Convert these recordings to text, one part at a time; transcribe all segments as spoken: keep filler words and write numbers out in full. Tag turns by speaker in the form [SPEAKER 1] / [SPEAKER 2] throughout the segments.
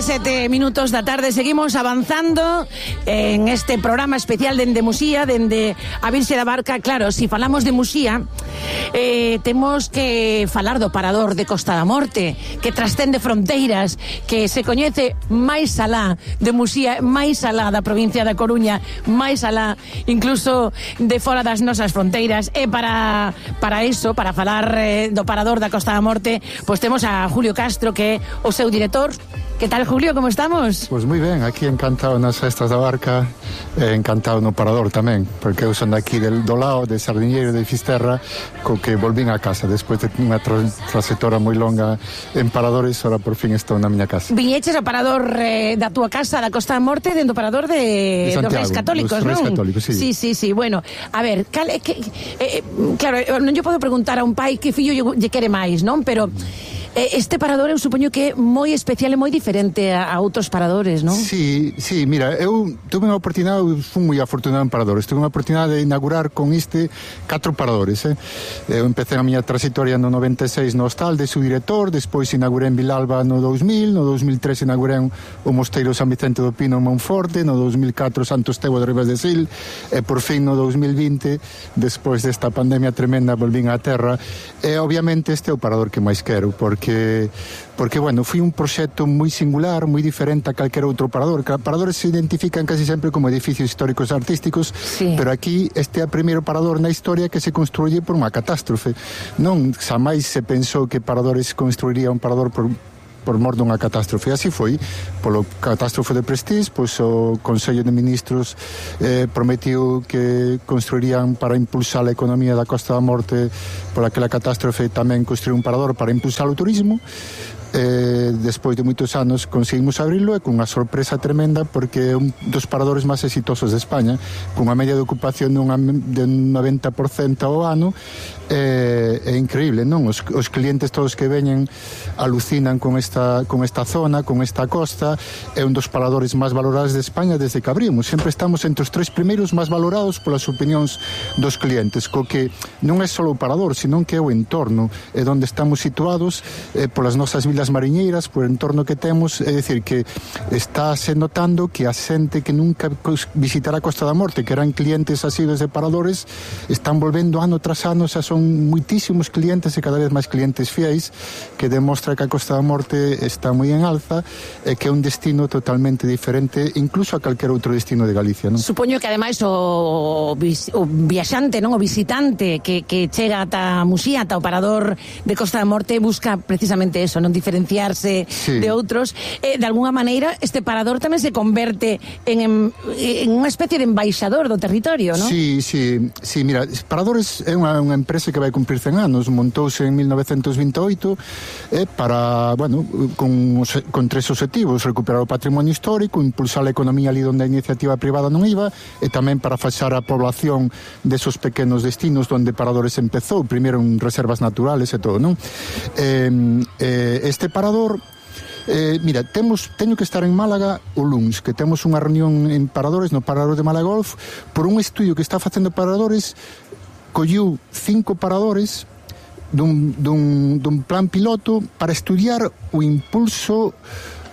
[SPEAKER 1] sete minutos da tarde, seguimos avanzando en este programa especial dende Muxía, dende a Virxe da Barca. Claro, si falamos de Muxía, eh, temos que falar do parador de Costa da Morte, que trascende fronteiras, que se coñece máis alá de Muxía, máis alá da provincia da Coruña, máis alá incluso de fora das nosas fronteiras. E para, para eso, para falar eh, do parador da Costa da Morte, pois temos a Julio Castro, que é o seu director. ¿Qué tal, Julio? ¿Cómo estamos?
[SPEAKER 2] Pues moi ben, aquí encantado nas festas da Barca, eh, encantado no parador tamén, porque eu son daqui del, do lado de Sardiñeiro de Fisterra, co que volvín a casa despois de unha tra traxectoria moi longa en paradores. Ahora por fin estou na miña casa.
[SPEAKER 1] Viñeches ao parador eh, da túa casa da Costa da Morte, dentro do parador de,
[SPEAKER 2] de Santiago,
[SPEAKER 1] dos Reis Católicos, non?
[SPEAKER 2] Reis Católicos, sí.
[SPEAKER 1] Sí, sí, sí. Bueno, a ver, cal, que, eh, claro, non lle podo preguntar a un pai que fillo lle, lle quere máis, non? Pero este parador eu supoño que é moi especial e moi diferente a, a outros paradores, non?
[SPEAKER 2] Sí, sí, mira, eu tuve unha oportunidade, eu fui moi afortunado en paradores, tuve unha oportunidade de inaugurar con este catro paradores, eh? Eu empecé a miña trayectoria no noventa e seis no hostal de subdirector, despois inaugurei en Vilalba no dos mil, no dos mil tres inaugurei o Mosteiro San Vicente do Pino en Monforte, no dos mil catro Santo Estevo de Ribas de Sil, e por fin no dos mil vinte, despois desta pandemia tremenda, volvín á terra, e obviamente este é o parador que máis quero, porque porque, porque bueno, foi un proxecto moi singular, moi diferente a calquera outro parador. Cada paradores se identifican casi sempre como edificios históricos e artísticos, sí. Pero aquí este é o primeiro parador na historia que se construye por unha catástrofe. Non, xamais se pensou que paradores construiría un parador por por mor dunha catástrofe. Así foi, polo catástrofe de Prestige, pois o Consello de Ministros eh, prometiu que construirían para impulsar a economía da Costa da Morte por aquela catástrofe, tamén construir un parador para impulsar o turismo. Eh, despois de moitos anos conseguimos abrirlo e con unha sorpresa tremenda, porque é un dos paradores máis exitosos de España, con unha media de ocupación dunha, de un noventa por cento ao ano. É, é increíble, non? Os, os clientes todos que veñen alucinan con esta, con esta zona, con esta costa. É un dos paradores máis valorados de España desde que abrimos. Sempre estamos entre os tres primeiros máis valorados polas opinións dos clientes, co que non é só o parador, senón que é o entorno, é onde estamos situados, eh, polas nosas vilas mariñeiras, por o entorno que temos. É dicir, que está se notando que a xente que nunca visitará a Costa da Morte, que eran clientes asiduos de paradores, están volvendo ano tras ano. Xa son muitísimos clientes e cada vez máis clientes fiéis, que demostra que a Costa da Morte está moi en alza e que é un destino totalmente diferente incluso a calquer outro destino de Galicia, non?
[SPEAKER 1] Supoño que ademais o, o viaxante, non, o visitante que, que chega ata Muxía, ata o parador de Costa da Morte, busca precisamente eso, non diferenciarse, sí, de outros. Eh, de alguna maneira este parador tamén se converte en, en, en unha especie de embaixador do territorio, non?
[SPEAKER 2] Sí, sí, sí, mira, Paradores é unha, unha empresa que vai cumprir cen anos, montouse en mil novecentos vinte e oito, eh, para, bueno, con, con tres objetivos: recuperar o patrimonio histórico, impulsar a economía ali onde a iniciativa privada non iba, e tamén para faxar a población desos pequenos destinos onde Paradores empezou, primeiro en reservas naturales e todo, non? Eh, eh, este parador, Eh, mira, temos, teño que estar en Málaga o luns, que temos unha reunión en Paradores, no Parador de Málaga Golf, por un estudio que está facendo Paradores. Colliu cinco paradores dun, dun, dun plan piloto para estudiar o impulso,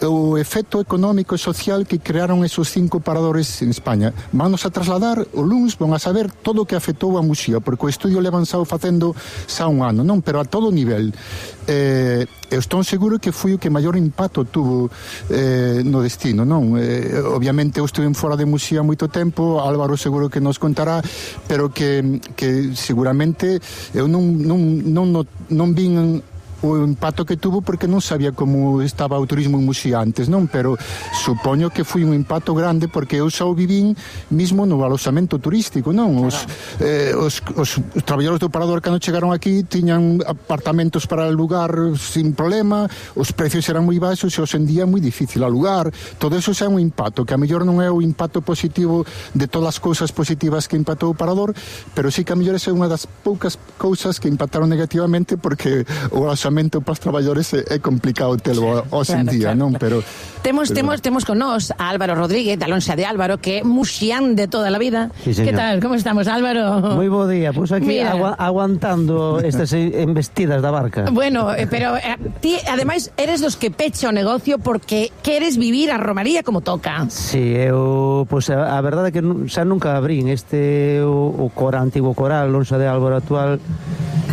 [SPEAKER 2] o efecto económico e social que crearon esos cinco paradores en España. Vámonos a trasladar o luns, van a saber todo o que afectou a Muxía, porque o estudio levan xa facendo xa un ano, non? Pero a todo nivel. Eh, eu estou seguro que foi o que maior impacto tuvo eh, no destino, non? Eh, obviamente eu estuve fora de Muxía moito tempo, Álvaro seguro que nos contará, pero que, que seguramente eu non, non, non, non, non vin o impacto que tuvo, porque non sabía como estaba o turismo en Muxía antes, non? Pero supoño que foi un impacto grande, porque eu xa o vivín mismo no aloxamento turístico, non? Os, eh, os, os, os traballadores do parador, cando chegaron aquí, tiñan apartamentos para alugar sin problema, os precios eran moi baixos e hoxe en día é moi difícil alugar. Todo eso xa é un impacto, que a mellor non é o impacto positivo de todas as cousas positivas que impactou o parador, pero sí que a mellor é unha das poucas cousas que impactaron negativamente, porque o aloxamento afortunadamente para os traballadores é, é complicado telo hoxe en día, claro, non? Pero
[SPEAKER 1] temos
[SPEAKER 2] pero...
[SPEAKER 1] temos temos con nós a Álvaro Rodríguez, da Lonxa de Álvaro, que é muxián de toda a vida. Sí, que tal? Como estamos, Álvaro?
[SPEAKER 3] Moi bo día, pois pues aquí agu aguantando estas embestidas da barca.
[SPEAKER 1] Bueno, eh, pero eh, ti ademais eres dos que pecha o negocio porque queres vivir a romaría como toca.
[SPEAKER 3] Sí, eu pois pues, a, a verdade é que xa nunca abrín este o, o cor antigo coral Lonxa de Álvaro actual.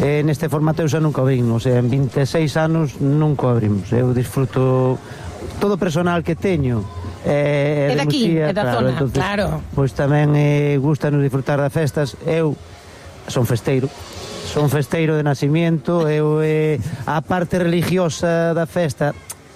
[SPEAKER 3] Eh, neste formato eu xa nunca abrín, o sea, en vinte e seis anos nunca abrimos. Eu disfruto todo o personal que teño eh,
[SPEAKER 1] é daqui, é da
[SPEAKER 3] claro,
[SPEAKER 1] zona,
[SPEAKER 3] entonces,
[SPEAKER 1] claro.
[SPEAKER 3] Pois tamén eh, gustanos disfrutar das festas. Eu son festeiro, son festeiro de nacimiento, eu eh, a parte religiosa da festa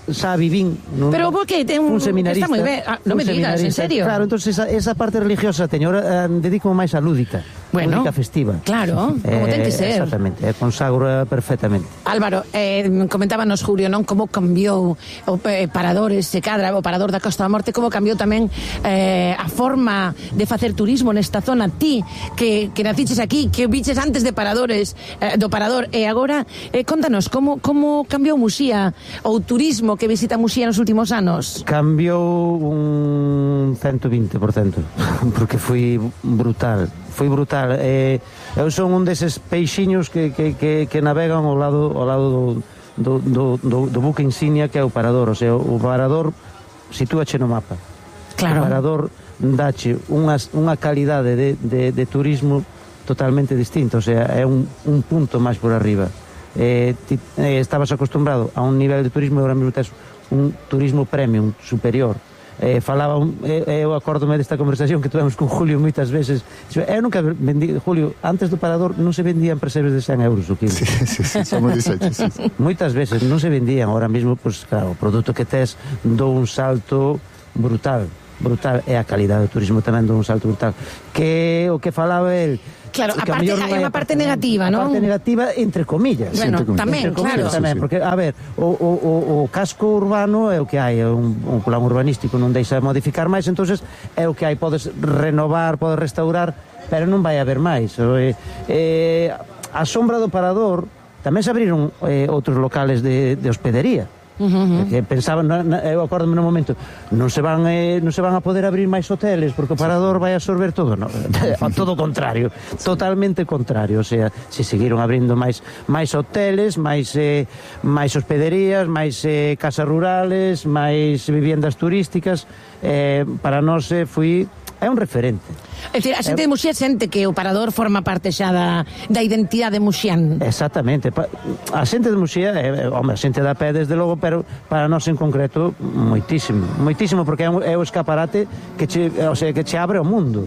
[SPEAKER 3] xa vivín nun,
[SPEAKER 1] pero porque ten un,
[SPEAKER 3] un seminarista,
[SPEAKER 1] está moi ben, ah, non me digas, en serio?
[SPEAKER 3] Claro, entonces esa, esa parte religiosa teño, ahora eh, dedico máis a lúdica,
[SPEAKER 1] bueno,
[SPEAKER 3] lúdica festiva.
[SPEAKER 1] Claro, como
[SPEAKER 3] eh,
[SPEAKER 1] ten que ser.
[SPEAKER 3] Exactamente, eh, consagro perfectamente.
[SPEAKER 1] Álvaro, eh, comentábanos Julio, non, como cambiou o eh, paradores, se cadra, o parador da Costa da Morte, como cambiou tamén eh, a forma de facer turismo nesta zona. Ti, que, que naciches aquí, que viches antes de paradores, eh, do parador, e agora, eh, contanos, como, como cambiou Muxía, ou turismo que visita Muxía nos últimos anos?
[SPEAKER 3] Cambiou un ciento vinte por cento, porque foi brutal, foi brutal. Eh, eu son un deses peixiños que, que, que, que navegan ao lado, ao lado do, do, do, do buque insignia que é o parador, o sea, o parador sitúache no mapa.
[SPEAKER 1] Claro.
[SPEAKER 3] O parador dache unha, unha calidade de, de, de turismo totalmente distinta, o sea, é un, un punto máis por arriba. Eh, ti, eh, estabas acostumbrado a un nivel de turismo e agora mesmo tes un turismo premium superior. Eh, falaba un, eh, eu acórdome desta conversación que tuvemos con Julio moitas veces. Eu nunca vendí, Julio, antes do parador non se vendían presebes de cen euros o quilo.
[SPEAKER 2] Sí, sí, sí, somos dixeches, sí, sí.
[SPEAKER 3] Moitas veces non se vendían, ahora mesmo, pues, claro, o produto que tes dou un salto brutal, brutal, e a calidade do turismo tamén dou un salto brutal. Que o que falaba el,
[SPEAKER 1] claro, a parte, hai unha parte negativa, non?
[SPEAKER 3] A parte negativa, entre comillas.
[SPEAKER 1] Bueno,
[SPEAKER 3] entre
[SPEAKER 1] tamén,
[SPEAKER 3] comillas,
[SPEAKER 1] claro.
[SPEAKER 3] Tamén, porque, a ver, o, o, o, o casco urbano é o que hai, é un, un plan urbanístico, non deixa modificar máis, entonces é o que hai, podes renovar, podes restaurar, pero non vai haber máis. Eh, eh, a sombra do parador, tamén se abriron eh, outros locales de, de hospedería. Uh -huh. Que pensaban, eu acórdome no momento, non se van eh, non se van a poder abrir máis hoteles porque o parador vai absorber todo, no, todo o contrario, totalmente contrario, o sea, se seguiron abrindo máis máis hoteles, máis eh, máis hospederías, máis eh, casas rurales, máis viviendas turísticas, eh, para nós eh, foi é un referente.
[SPEAKER 1] É dicir, a xente de Muxía sente que o parador forma parte xa da, da identidade muxián.
[SPEAKER 3] Exactamente. A xente de Muxía, é, home, a xente da pé desde logo, pero para nós en concreto moitísimo, moitísimo, porque é, un, é o escaparate que che, o sea, que che abre o mundo.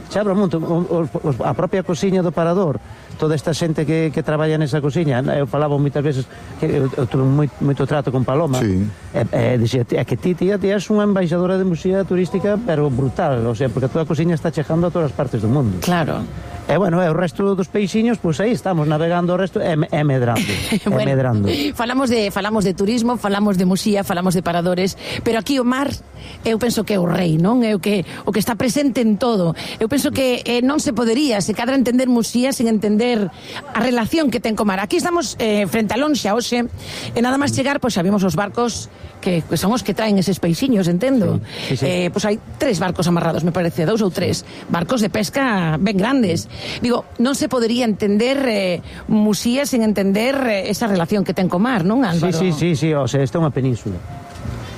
[SPEAKER 3] Che abre o mundo, o, o, a propia cociña do parador, toda esta xente que, que traballa nesa cociña, eu falaba moitas veces que eu, eu tuve moito, moito trato con Paloma,
[SPEAKER 2] sí.
[SPEAKER 3] e, e dixía, é que ti, tía, ti és unha embaixadora de Muxía turística, pero brutal, o sea, porque a tua cociña está chegando a todas as partes do mundo.
[SPEAKER 1] Claro.
[SPEAKER 3] E bueno, e o resto dos peixiños, pois pues aí estamos navegando o resto e, e medrando, bueno, e medrando.
[SPEAKER 1] Falamos de falamos de turismo, falamos de Muxía, falamos de paradores, pero aquí o mar, eu penso que é o rei, non? É o que o que está presente en todo. Eu penso que eh, non se podería se cadra entender Muxía sen entender a relación que ten co mar. Aquí estamos eh, frente a Lonxa hoxe, e nada máis chegar, pois pues, xa vimos os barcos que, que son os que traen eses peixiños, entendo. Sí, sí, sí. Eh, pois pues hai tres barcos amarrados, me parece, dous ou tres barcos de pesca ben grandes. Digo, non se podería entender eh, Muxía sen entender eh, esa relación que ten co mar, non, Álvaro?
[SPEAKER 3] Sí, sí, sí, sí, o sea, esta é unha península.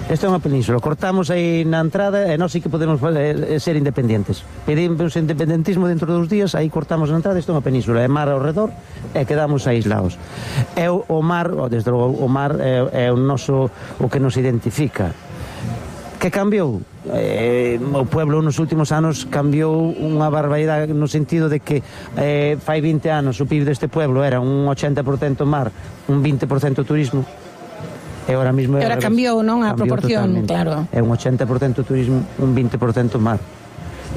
[SPEAKER 3] Esta é unha península, cortamos aí na entrada e nós sí que podemos eh, ser independientes. Pedimos independentismo dentro dos días, aí cortamos na entrada, esta é unha península, é mar ao redor e quedamos aislados. É o, o mar, desde logo, o mar é, é o noso, o que nos identifica. Que cambiou? Eh, o pueblo nos últimos anos cambiou unha barbaridade no sentido de que eh, fai vinte anos o P I B deste pueblo era un ochenta por cento mar, un vinte por cento turismo, e ahora mismo
[SPEAKER 1] ahora cambiou, non, a proporción, totalmente. Claro.
[SPEAKER 3] É un ochenta por cento turismo, un vinte por cento mar.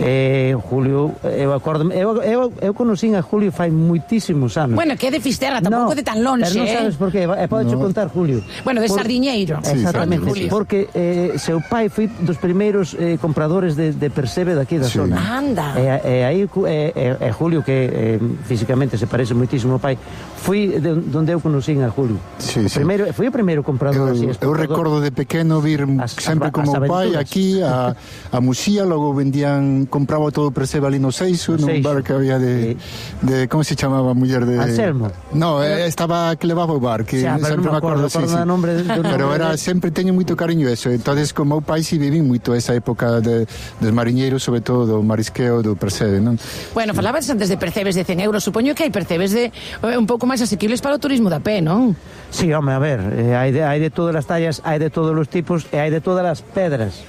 [SPEAKER 3] Eh, Julio, eu acordo, eu, eu, eu conocín a Julio fai moitísimos anos.
[SPEAKER 1] Bueno, que é de Fisterra, tampouco
[SPEAKER 3] no,
[SPEAKER 1] de tan lonxe,
[SPEAKER 3] pero non sabes
[SPEAKER 1] eh?
[SPEAKER 3] por qué, e podes
[SPEAKER 2] No.
[SPEAKER 3] contar Julio.
[SPEAKER 1] Bueno, de
[SPEAKER 3] Por-
[SPEAKER 1] Sardiñeiro.
[SPEAKER 2] Sí,
[SPEAKER 3] Exactamente,
[SPEAKER 2] Sardiñeiro.
[SPEAKER 3] porque eh, seu pai foi dos primeiros eh, compradores de, de percebe daqui da
[SPEAKER 2] Sí.
[SPEAKER 3] zona.
[SPEAKER 1] Anda.
[SPEAKER 3] E, e aí cu- e, e, e Julio, que eh, físicamente se parece moitísimo ao pai, foi de, donde eu conocín a Julio.
[SPEAKER 2] Sí,
[SPEAKER 3] O
[SPEAKER 2] sí.
[SPEAKER 3] primeiro, foi o primeiro comprador así,
[SPEAKER 2] Eu, eu
[SPEAKER 3] exportador.
[SPEAKER 2] recordo de pequeno vir
[SPEAKER 3] As-
[SPEAKER 2] sempre
[SPEAKER 3] as-
[SPEAKER 2] como
[SPEAKER 3] as
[SPEAKER 2] o pai
[SPEAKER 3] aventuras.
[SPEAKER 2] aquí a, a Muxía, logo vendían, compraba todo o percebe ali no Seixo,
[SPEAKER 3] No
[SPEAKER 2] nun
[SPEAKER 3] Seixo.
[SPEAKER 2] bar que había de, de como se chamaba a muller de...
[SPEAKER 3] Anselmo.
[SPEAKER 2] No, eh, estaba que levaba o bar, que
[SPEAKER 3] Xa, pero
[SPEAKER 2] sempre
[SPEAKER 3] non me acordo,
[SPEAKER 2] sí,
[SPEAKER 3] acordo
[SPEAKER 2] sí.
[SPEAKER 3] do nombre do nombre
[SPEAKER 2] Pero era,
[SPEAKER 3] de-
[SPEAKER 2] sempre teño moito cariño eso, entonces como o pai si vivín moito esa época de, dos mariñeiros, sobre todo do marisqueo, do percebe, non?
[SPEAKER 1] Bueno, falabas antes de percebes de cen euros, supoño que hai percebes de eh, un pouco máis asequibles para o turismo da pé, non?
[SPEAKER 3] Sí, home, a ver, eh, hai, de, hai de todas as tallas, hai de todos os tipos e hai de todas as pedras.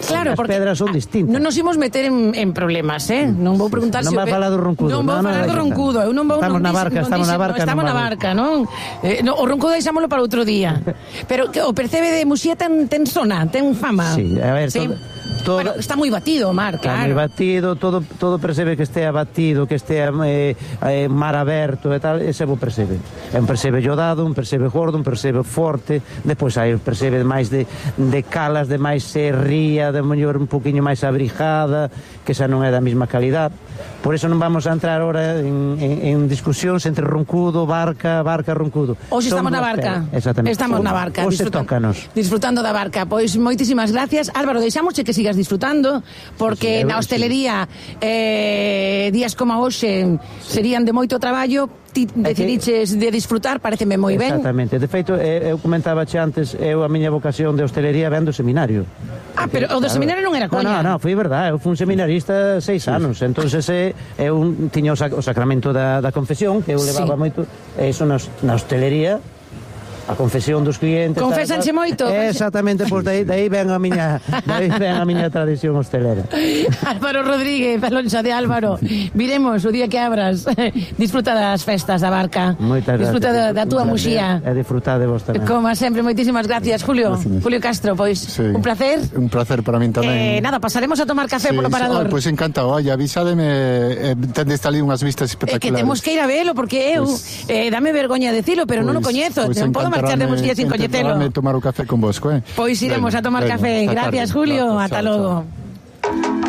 [SPEAKER 1] Claro,
[SPEAKER 3] as
[SPEAKER 1] porque
[SPEAKER 3] pedras son
[SPEAKER 1] ah,
[SPEAKER 3] distintas.
[SPEAKER 1] non nos imos meter en, en problemas, eh? Non vou preguntar
[SPEAKER 3] Non
[SPEAKER 1] se o
[SPEAKER 3] vai
[SPEAKER 1] pe-
[SPEAKER 3] falar do roncudo.
[SPEAKER 1] Non vou
[SPEAKER 3] No, no,
[SPEAKER 1] falar do
[SPEAKER 3] deixa
[SPEAKER 1] roncudo, eu non vou
[SPEAKER 3] Estamos
[SPEAKER 1] non
[SPEAKER 3] na
[SPEAKER 1] dixen-
[SPEAKER 3] barca,
[SPEAKER 1] non
[SPEAKER 3] estamos na
[SPEAKER 1] dixen-
[SPEAKER 3] barca,
[SPEAKER 1] Estamos
[SPEAKER 3] non
[SPEAKER 1] na
[SPEAKER 3] vamos.
[SPEAKER 1] barca, non? Eh, no, o roncudo deixámolo para outro día. Pero que o percebe de Muxía ten, ten zona, ten fama.
[SPEAKER 3] Sí, a ver, todo- todo-
[SPEAKER 1] Bueno, está moi batido o mar,
[SPEAKER 3] Está
[SPEAKER 1] claro.
[SPEAKER 3] moi batido, todo, todo percebe que estea batido, que estea eh, eh, mar aberto e tal, ese bo percebe. É un percebe llodado, un percebe gordo, un percebe forte, depois hai un percebe máis de, de calas, de máis serría, de mellor un poquinho máis abrigada, que xa non é da mesma calidad. Por eso non vamos a entrar ahora en, en, en discusións entre roncudo, barca, barca, roncudo.
[SPEAKER 1] Hoxe
[SPEAKER 3] Son
[SPEAKER 1] estamos na
[SPEAKER 3] dúas
[SPEAKER 1] barca.
[SPEAKER 3] peras, Exactamente.
[SPEAKER 1] Estamos na barca.
[SPEAKER 3] Hoxe
[SPEAKER 1] disfrutan-
[SPEAKER 3] tócanos.
[SPEAKER 1] Disfrutando da barca. Pois moitísimas gracias. Álvaro, deixámosche que sigas disfrutando, porque
[SPEAKER 3] Sí, sí,
[SPEAKER 1] na
[SPEAKER 3] eu-
[SPEAKER 1] hostelería eh, días como hoxe serían de moito traballo. Ti decidiches de disfrutar, pareceme moi ben.
[SPEAKER 3] Exactamente. De feito, eh, eu comentaba che antes, eu a miña vocación de hostelería ven do seminario.
[SPEAKER 1] Ah, pero o do seminario non era coña.
[SPEAKER 3] No, no, no, foi verdade, eu fui un seminarista seis anos, entonces eh, eu tiña o, sac, o sacramento da, da confesión, que eu
[SPEAKER 1] Sí.
[SPEAKER 3] levaba moito, e iso na, na hostelería, a confesión dos clientes.
[SPEAKER 1] Confésanse
[SPEAKER 3] tal, tal.
[SPEAKER 1] moito.
[SPEAKER 3] Exactamente, pois dai, dai ven a miña, dai ven a miña tradición hostelera.
[SPEAKER 1] Álvaro Rodríguez, Alonso de Álvaro. Viremos o día que abras. Disfruta das festas da barca.
[SPEAKER 3] Moitas gracias.
[SPEAKER 1] Disfruta da, da túa
[SPEAKER 3] Un
[SPEAKER 1] Muxía.
[SPEAKER 3] placer, E disfrutar de vos tamén.
[SPEAKER 1] Como sempre, moitísimas gracias, Julio.
[SPEAKER 2] Gracias.
[SPEAKER 1] Julio Castro, pois
[SPEAKER 2] Sí.
[SPEAKER 1] un placer.
[SPEAKER 2] Un placer para min
[SPEAKER 1] Eh,
[SPEAKER 2] tamén.
[SPEAKER 1] nada, pasaremos a tomar café polo parador.
[SPEAKER 2] Oh, pois encantado, oye, avisádeme, eh, tendes ali unhas vistas
[SPEAKER 1] É
[SPEAKER 2] espectaculares.
[SPEAKER 1] que temos que ir a velo, porque eu,
[SPEAKER 2] Pois-
[SPEAKER 1] eh, dame vergoña decilo, pero non o
[SPEAKER 2] Pois-
[SPEAKER 1] coñezo.
[SPEAKER 2] pois
[SPEAKER 1] non podo marchar de
[SPEAKER 2] encantarame-
[SPEAKER 1] Muxía sin coñecelo.
[SPEAKER 2] encantarame tomar o café con vosco, eh?
[SPEAKER 1] Pois iremos
[SPEAKER 2] Veña,
[SPEAKER 1] a tomar
[SPEAKER 2] veña,
[SPEAKER 1] café.
[SPEAKER 2] esta
[SPEAKER 1] Gracias,
[SPEAKER 2] tarde.
[SPEAKER 1] Julio.
[SPEAKER 2] Gracias,
[SPEAKER 1] Ata
[SPEAKER 2] chao,
[SPEAKER 1] logo.
[SPEAKER 2] chao.